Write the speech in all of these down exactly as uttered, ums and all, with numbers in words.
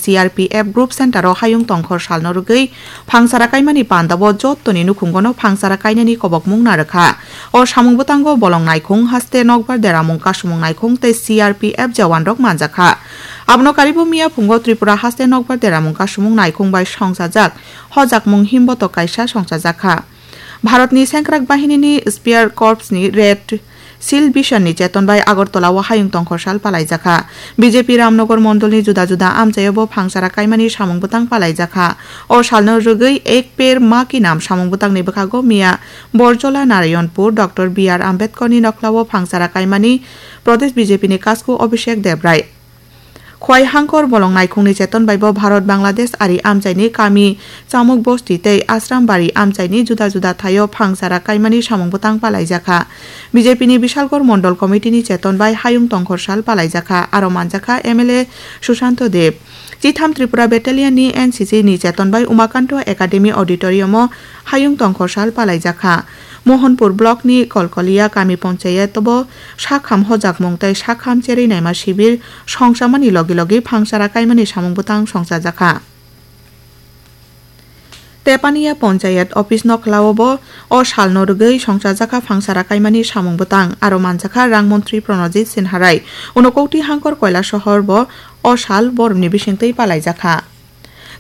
C R P F Group Center o hayung tongkhor salno rwgwi phangsara kaimani pandao jottoni nukhungono phangsara kainani kobokmung narwkha. O samung bwtango bolong naikhung haste nokbar deramung kasumung naikhung tei C R P F jawanrok manjakha. Abono karibo miya phungo Tripura haste nokbar deramung kasumung naikhung bai songchajak hojakmung himbotok kaisa songchajakha. Bharatni Sengkrak Bahinini Spear Corps ni Red Shield Mission ni cheton bai Agartala o hayung tongkhor sal palaijakha. B J P Ramnagar mondolni juda juda amchaio bo phangsara kaimani samung bwtang palaijakha. O salno rwgwi Ek Ped Maa Ki Naam samung bwtangni bwkhago miya Borjola Narayanpur Doctor B R Ambedkar ni nokhlao phangsara kaimani Pradesh B J P ni kasku Abhishek Debrai. Khwai hangkor bolong naikhungni cheton bai bo Bharat Bangladesh ari amchaini kami Chamuk Bosti tei Ashram Bari amchaini juda juda thaio phangsara kaimani samung bwtang palaijakha. B J P ni Bishalgarh Mondol Committee ni cheton bai hayung tongkhor sal palaijakha, aro manjakha M L A Sushanto Deb. Chitham Tripura Battalion ni N C C ni cheton bai Umakanto Academy Auditorium o hayung tongkhor sal palaijakha. Mohanpur Block ni Kolkolia Kami Panchayat bo sakham hojakmung tei sakham cherwi naima sibir songchamani logi logi phangsara kaimani samung bwtang songchajakha. Tepania Panchayat Office nokhlao bo o salno rwgwi songchajakha phangsara kaimani samung bwtang, aro manjakha Rang Montri Pranajit Sinharai. Unokoti hangkor Koila Sohor bo o sal boromni bisingtwi palaijakha.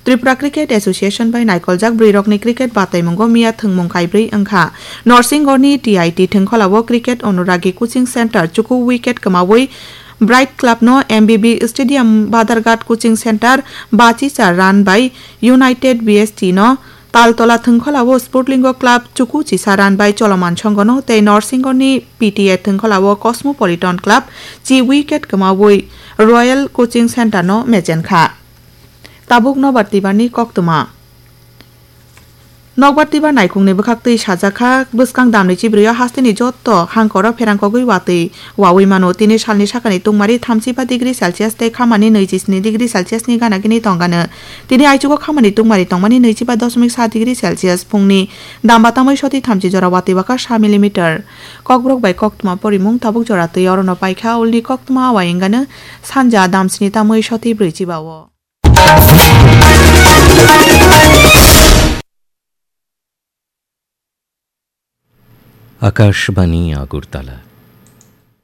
Tripura Cricket Association bai naikoljak bwrwirokni cricket bataimungo miya thwngmung kaibrwi wngkha. Norsingorni T I T thwngkholao Cricket Anuragi Coaching Center chuku wicket kwmawi Bright Club no M B B Stadium Badharghat Coaching Center bachi cha run bai United B S T no Taltola thwngkholao Sportlingo Club chuku chisa run bai Choloman Songhono tei Norsingorni P T A thwngkholao Cosmopolitan Club chi wicket kwmawi Royal Coaching Center no mechenkha. Tabuk nokbar twibarni koktwma. Nokbar twibar naikhungni bwkhaktwi sajakha, bwskang damni chibrwio hasteni jotto hangkoro pherangkogwi watwi wawi mano. Tini salni sakani tungmari thamchiba degree Celsius tei khamani nwichi sni degree Celsius ni gana gini tongano. Tini aichugo khamani tungmari tongmani nwichiba dosmik sa degree Celsius, phungni damba tamwi soti thamchi jora watwi bwkha sa millimeter. Kokborok bai koktwma porimung tabuk jora twi orono paikha, ulni koktwma awai wngano sanja damsni tamwi soti brwichiba o. Akashbani Agartala.